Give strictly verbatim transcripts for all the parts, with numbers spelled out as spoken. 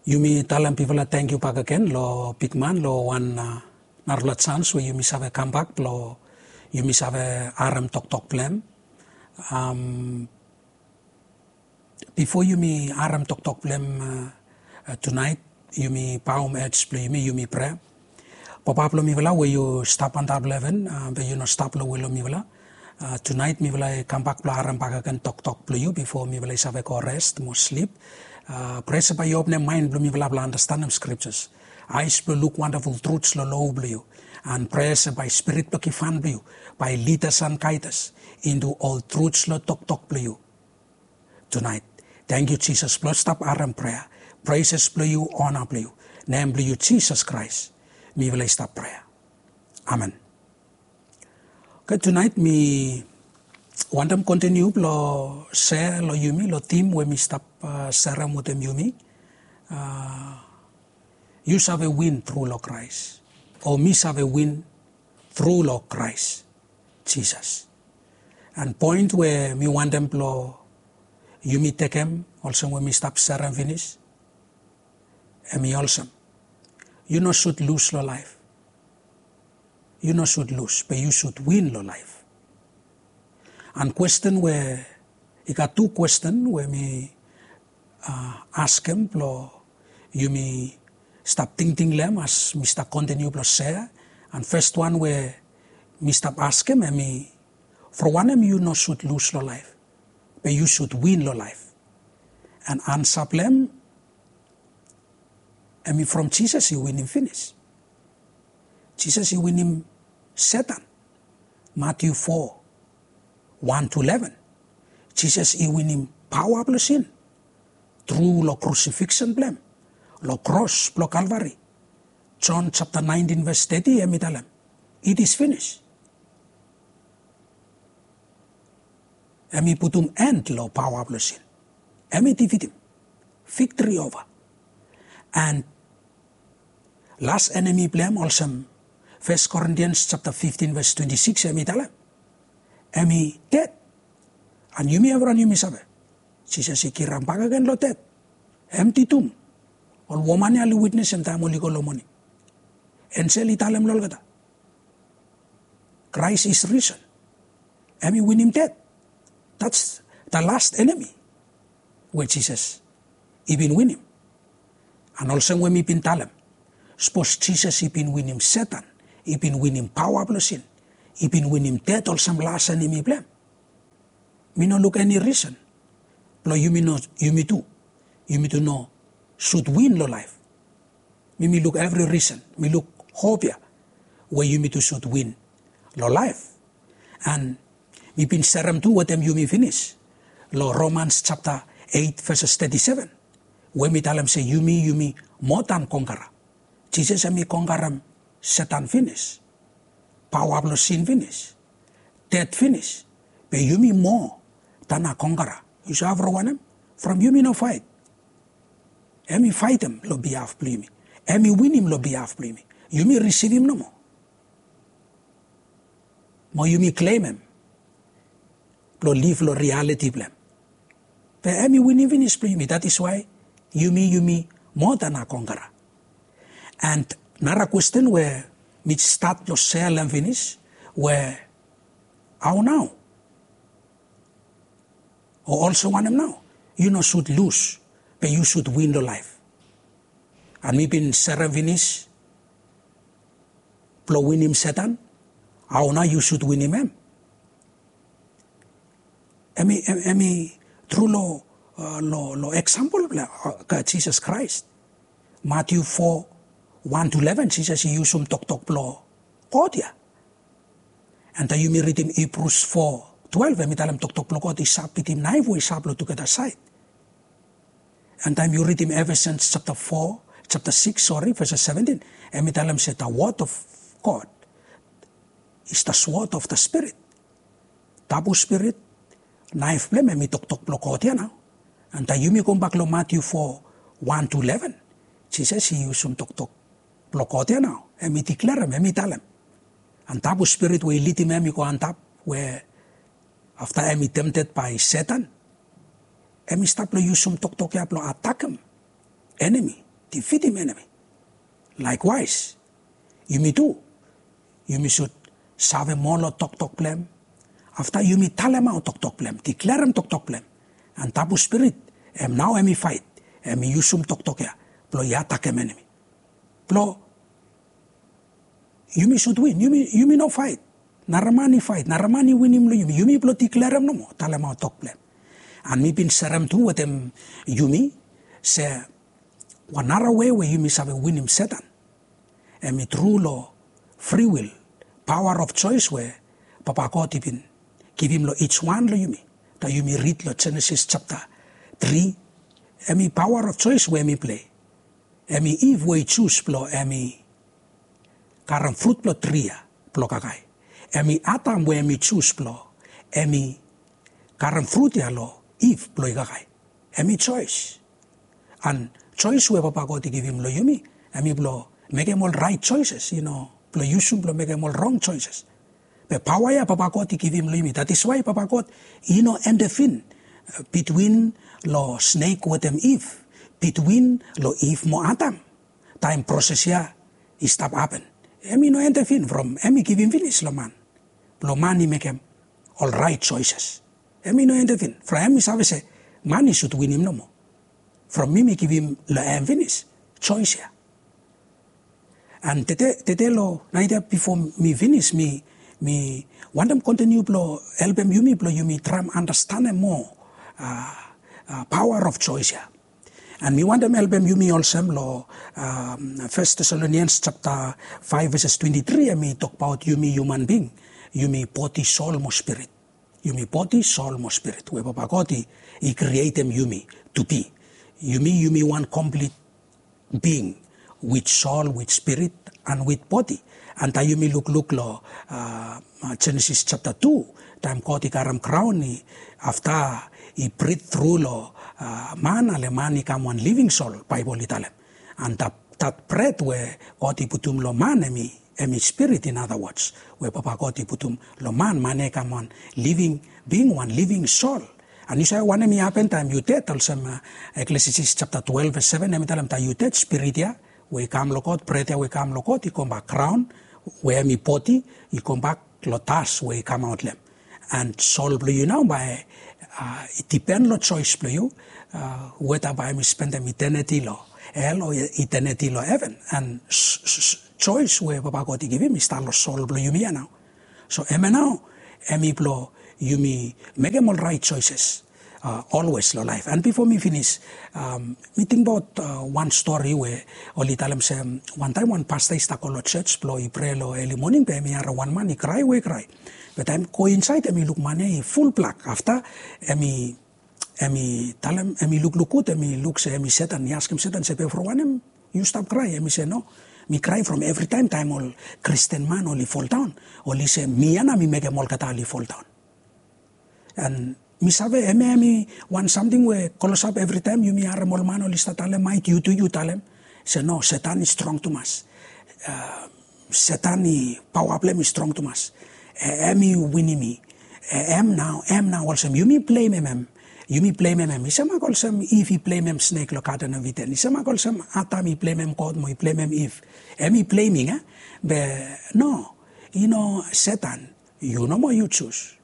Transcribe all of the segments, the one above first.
Yumi talem bifala tangkiu bakegen lo bigman lo wan narafala jans we yumi save kambak blo yumi save harem toktok blong hem. Bifo yumi harem toktok blong hem tunaet, yumi baom hed blong yumi, yumi prea. Papa blong mifala we yu stap antap lo heven, be yu no stap lo we lo mifala. Tunaet mifala i kambak blo harem bakegen toktok blo yu bifo mifala i save go res mo slip. Prea se bae yu openem maen blo mifala blo andastanem skriptas, aes blo luk wandaful truts lo lo blo yu. An prea se bae Spirit blo givhan blo yu bae lidas an gaedas intu ol truts lo toktok blo yu tunaet. Tangkiu Jisas blo stap harem prea. Preses blo yu, ona blo yu. Nem blo yu Jisas Kraes mifala i stap prea. Amen. Oke, tunaet mi wantem kontiniu blo sea lo yumi lo tim we mi stap serem wetem yumi. Yu save win tru lo Kraes, o mi save win tru lo Kraes Jisas. An poen we mi wantem blo yumi tekem olsem we mi stap serem finis, hemi olsem, yu no sud lus lo laef. Yu no sud lus, be yu sud win lo laef. An kwesten we, i gat tu kwesten we mi askem blo yumi stap tingting lo hem as mi stap kontiniu blo sea. An fes wan we mi stap askem hemi, from wanem yu no sud lus lo laef, be yu sud win lo laef? An ansa blo hem hemi from Jisas i winim finis. Jisas i winim Setan. Matiu fo, wan tu leven. Jisas i winim paoa blo sin tru lo krusifiksen blo hem lo kros blo Kalvari. Jon japta naentin ves teti hemi talem, it is finis. Hemi putum en lo paoa blo sin. Hemi difitim. Viktri ova. An las enemi blo hem olsem Fes Korintians japta fiftin ves twenti sikis hemi talem, hemi ded. An yumi evriwan yumi save, Jisas i kirap bakegen lo ded. Hem ditum. Ol woman ya oli witnesem taem oli go lo moning. Enjel i talem lo olgeta, Kraes is risen. Hemi winim ded. That's the last enemy we Jisas i bin winim. An olsem we mi bin talem, sapos Jisas i bin winim Setan, i bin winim paoa blo sin, i bin winim ded olsem las enemi blo hem, mi no luk eni risen blo yumi no, yumi tu, yumi tu no sud win lo laef. Mi, mi luk evri risen, mi luk hop ya we yumi tu sud win lo laef. An mi bin serem tu wetem yumi finis lo Romans japta eit veses teti seven, we mi talem se yumi, yumi moa dan kongkara. Jisas hemi kongkarem Setan finis, paoa blo sin finis, ded finis. Be yumi moa dan kongkara. Yu save from wanem? From yumi no faet. Hemi faetem lo bihaf blo yumi. Hemi winim lo bihaf blo yumi. Yumi risivim nomo mo yumi klemem blo liv lo rialiti blo hem. Be hemi winim finis blo yumi. That is why yumi, yumi moa dan kongkara. An nara kwesten we mi stat lo sea lo hem finis, we hao nao? O olsem wanem nao? Yu no sud lus, be yu sud win lo laef. An mi bin serem finis blo winim Setan, hao nao yu sud winim hem? Hemi, hemi tru lo, lo, lo eksampol blo Jisas Kraes. Matiu fo, wan tu leven, Jisas i yusum toktok blo God ya. An taem yumi ridim Hibrus fo twelef, hemi talem toktok blo God i sap bitim naef we i sap lo tugeta saed. An taem yu ridim Efesens japta fo, japta sikis, sori, ves seventin, hemi talem se the word of God is the sword of the Spirit. Tabu Spirit, naef blo hem hemi toktok blo God ya nao. An taem yumi gobak lo Matiu fo, wan tu leven, Jisas i yusum toktok blo God ya nao. Hemi diklerem, hemi talem. An Tabu Spirit we i lidim hem i go antap, we afta hemi temted bae Setan, hemi stap lo yusum toktok ya blo atakem enemi. defeatim enemi. Likewise, yumi tu, yumi should save moa long toktok blong hem. Afta yumi talemaot toktok blong hem, declareim toktok blong hem. And tabu spirit, hem nao hemi fight, hemi yusum toktok ia blong i atakem enemi. Blong yumi should win, yumi, yumi no fight. Nara man i fight, nara man i winim long yumi, yumi blong declareim nomo, talemaot tok blong hem. And mi bin serem tu wetem yumi se wan nara wei we yumi save winim Satan, hemi tru long free will, power of choice we Papa God i bin givim long each wan long yumi. Taem yumi rid long Genesis japta tri, hemi power of choice we hemi plei. Hemi Eve we i jus blong hemi karem frut blong tri ia blong kakae. Hemi Adam we hemi jus blong hemi karem frut ia long Eve blong i kakae. Hemi choice. And choice we Papa God i givim long yumi, hemi blong mekem ol right choices, i no blong yusum blong mekem ol wrong choices. Be paoa ia Papa God i givim long yumi. That is why Papa God i no intervene, uh, between long snek wetem Eve, between long Eve mo Adam. Taem proses ia i stap hapen, hemi no intervene from hemi givim finis long man blong man i mekem ol right choices. Hemi no intervene from hemi save se man i should winim nomo. From mi mi givim long hem finis choice ia. And tede, tede long naet ia bifo mi finis, mi, mi wantem kontiniu blong helpem yumi blong yumi traem andastanem moa, uh, uh, power of choice ia. And mi wantem helpem yumi olsem long, um, First Thessalonians japta faef veses twenti tri, hemi tokbaot yumi human being, yumi bodi, sol mo spirit. Yumi bodi, sol mo spirit we Papa God i, i krietem yumi to be. Yumi, yumi wan complete being with soul, with spirit, and with body. And taem yumi lukluk long, uh, Genesis japta tu, taem God i karem graon, i, afta i brit tru long, uh, man, ale man i kam wan living soul, Baebol i talem. And that, that breath we God i putum long man, hemi, hemi spirit, in other words, we Papa God i putum long man, man ia i kam wan living being, wan living soul. And yu save wanem i hapen taem yu ded, olsem, uh, Eklesiastes japta twelve ves seven, hemi talem taem yu ded, spirit ia we i kam long God, breath ia we i kam long God, i gombak graon we hemi bodi, i gombak long das we i kamaot long hem. And sol blong yu nao bae, uh, i dipen long choice blong yu, uh, weta bae hemi spendem eternity long hell o eternity long heven. And s-, s-, s-, choice we Papa God i givim i stap long sol blong yumi ia nao. So hemia nao, hemi blong yumi mekem ol right choices, uh, always long laef. And bifo mi finis, um, mi tingbaot, uh, wan stori we oli talem se, um, wantaem wan pasta i stap go long jos blong i prea long eli moning, be hemi harem wan man i krae we i krae. Be taem i go insaed, hemi luk man ia i ful blak. Afta hemi, hemi talem, hemi lukluk gud, hemi luk se hemi Setan. I askem Setan se, be from wanem yu stap krae? Hemi se, no, mi krae from evritaem, taem ol Kristin man oli foldaon, oli se mi ia nao mi mekem olgeta oli foldaon. And mi save hemia hemi wan samting we klosap, evritaem yumi harem ol man oli stap talemaot, yu tu yu talem se, no, Setan i strong tumas. Uh, Setan i, paoa blong hem i strong tumas. Hem i winim mi. Hem nao, hem nao, olsem yumi blemem hem. Yumi blemem hem. I semak olsem Iv i blemem snek long Garden of Eden. I semak olsem Adam i blemem God mo i blemem Iv. Hem i bleming, eh? Be no, i no, Setan, yu nomo yu jus.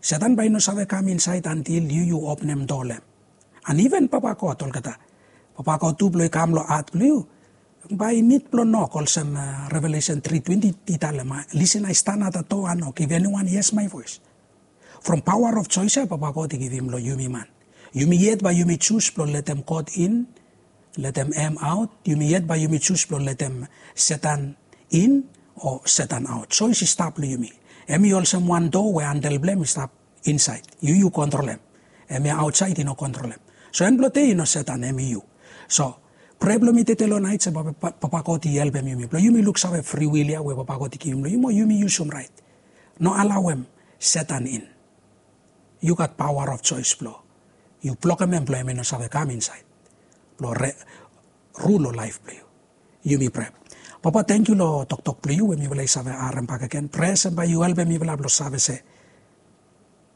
Setan bae i no save kam insaed antil yu, yu openem doa long hem. And even Papa God olgeta, Papa God tu blong i kam long hat blong yu, bae i nid blong nok, olsem, uh, Revelation three twenty i talem, uh, listen, I stand at the door and knock, if anyone hears my voice. From power of choice ia Papa God i givim long yumi man. Yumi yet bae yumi jus blong letem God in, letem hem aot, yumi yet bae yumi jus blong letem Setan in o Setan aot. Choice i stap long yumi. Hem i olsem wan doa we handle blong hem i stap insaed. Yu, yu kontrolem. Hemia aotsaed i no kontrolem. So en blong dei i no Setan, hem i yu. So prea blong mi tede long naet se Papa, Papa God i helpem yumi blong yumi luksave free will ia we Papa God i givim long yumi, yumi yusum raet. No alaoem Setan in. Yu gat power of choice blong yu blokem hem blong hem i no save kam insaed blong re-, rul long laef blong yu. Yumi prea. Papa, tangkiu long toktok blong yu we mifala i save harem bakegen. Prea se bae yu helpem mifala blong save se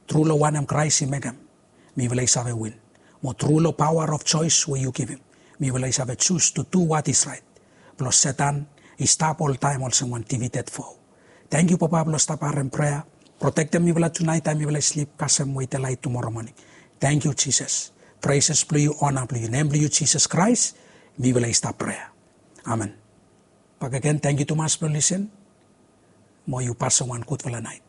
tru long wanem Kraes i mekem, mifala i save win. Mo tru long power of choice we yu givim, Mifala i save jus tu du wat is rait. Blong Setan i stap oltaem olsem wan divited fo. Tangkiu Papa blong stap harem prea. Protektem mifala tunaet taem mifala i slip kasem wei delaet tumora moning. Tangkiu Jisas. Preses blong yu, ona blong yu, nem blong yu Jisas Kraes, mifala i stap prea. Amen. Bakegen tangkiu tumas blong lisen. Mo yu pasem wan gudfala naet.